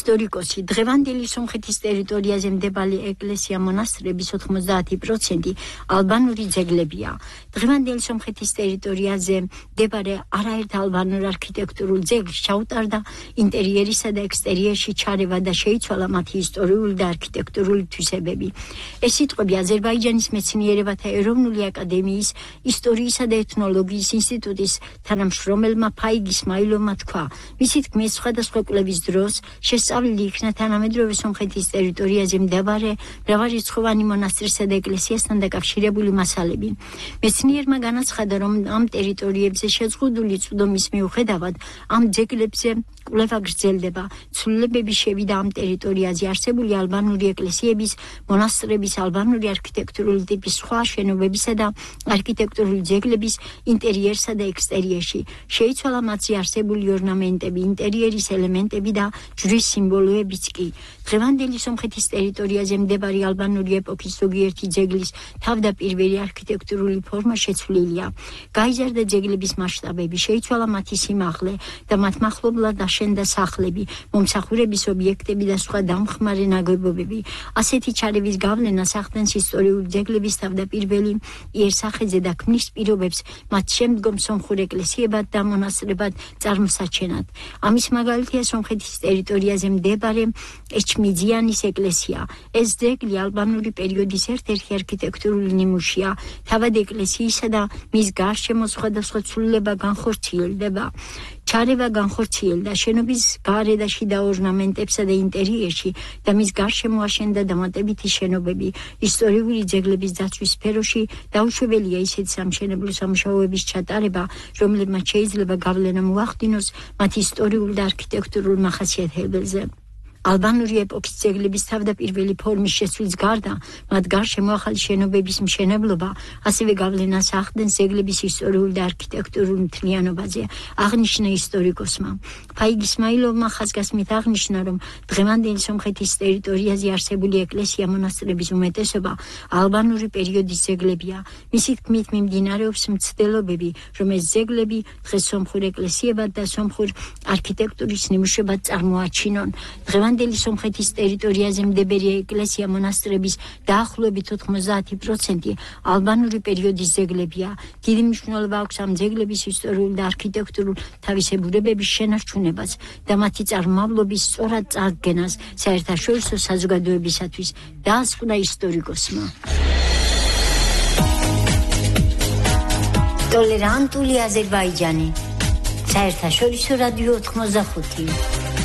ისტორიკოსი დღევანდელი სომხეთის ტერიტორიაზე მდებარე ეკლესია მონასტრების 90% ალბანური ძეგლებია. დღევანდელი სომხეთის ტერიტორიაზე მდებარე არაერთ ალბანურ არქიტექტურულ ძეგლს ჩაუტარდა ინტერიერისა და ექსტერიერში ჩარევა და შეიცვალა მათი ისტორიული და არქიტექტურული თვისებები. ეს სიტყვები აზერბაიჯანის მეცნიერებათა ეროვნული აკადემიის ისტორიისა და ეთნოლოგიის ინსტიტუტის თანამშრომელმა ფაიგ ისმაილოვმა თქვა. მისი თქმით, სხვადასხვა კვლევის დროს შესწავლილი იქნა თანამედროვე სომხეთის ტერიტორიაზე მდებარე მრავალრიცხოვანი მონასტრისა და ეკლესიასთან დაკავშირებული მასალები. მეცნიერმა განაცხადა, რომ ამ ტერიტორიებზე შეზღუდული წვდომის მიუხედავად ამ ძეგლებზე კვლევა გრძელდება. ცვლილებები შევიდა ამ ტერიტორიაზე არსებული ალბანური ეკლესიების, მონასტრების, ალბანური არქიტექტურული ტიპის სხვა შენობებისა და არქიტექტურული ძეგლების ინტერიერსა და ექსტერიერში. შეიცვალა მათზე არსებული ორნამენტები, ინტერიერის ელემენტები და ჯვრის სიმბოლოებიც კი. დღევანდელი სომხეთის ტერიტორიაზე მდებარე ალბანური ეპოქის ზოგიერთი ძეგლის თავდაპირველი არქიტექტურული ფორმა შეცვლილია. გაიზარდა ძეგლების მასშტაბები, შეიცვალა მათი სიმაღლე და მათ მახლობლად აშენდა სახლები, მომსახურების ობიექტები და სხვა დამხმარე ნაგებობები. ასეთი ჩარევის გავლენას ახდენს ისტორიული ძეგლების თავდაპირველი იერსახეზე და ქმნის პირობებს მათ შემდგომ სომხურ ეკლესიებად და მონასტრებად წარმოსაჩენად. ამის მაგალითია სომხეთის ტერიტორიაზე მდებარე ეჩმიძიანის ეკლესია. ეს ძეგლი ალბანური პერიოდის ერთ-ერთი არქიტექტურული ნიმუშია. თავად ეკლესიისა და მის გარშემო სხვადასხვა ცვლილება განხორციელდება. ჩარევა განხორციელდა შენობის გარე და შიდა ორნამენტებსა და ინტერიერში და მის გარშემო აშენდა დამატებითი შენობები. ისტორიული ძეგლების დაცვის სფეროში დაუშვებელია ისეთი სამშენებლო სამუშაოების ჩატარება, რომლებმაც შეიძლება გავლენა მოახდინოს მათ ისტორიულ და არქიტექტურულ მახასიათებელზე. ალბანური ეპოქის ძეგლების თავდაპირველი ფორმის შეცვლის გარდა, მათ გარშემო ახალი შენობების მშენებლობა ასევე გავლენას ახდენს ძეგლების ისტორიულ და არქიტექტურულ მთლიანობაზე, აღნიშნა ისტორიკოსმა. ფაიგ ისმაილოვმა ხაზგასმით აღნიშნა, რომ დღევანდელი სომხეთის ტერიტორიაზე არსებული ეკლესია მონასტრების უმეტესობა ალბანური პერიოდის ძეგლებია. მისი თქმით, მიმდინარეობს მცდელობები, რომ ეს ძეგლები დღეს სომხურ ეკლესიებად და სომხურ არქიტექტურის ნიმუშებად წარმოაჩინონ. დღევანდელი სომხეთის ტერიტორიაზე მდებარე ეკლესია მონასტრების დაახლოებით 90% ალბანური პერიოდის ძეგლებია. დიდი მნიშვნელობა აქვს ამ ძეგლების ისტორიულ და არქიტექტურულ თავისებურებების შენარჩუნებას და მათი წარმომავლობის სწორად წარდგენას საერთაშორისო საზოგადოებისათვის, დაასკვნა ისტორიკოსმა. ტოლერანტული აზერბაიჯანი. საერთაშორისო რადიო 85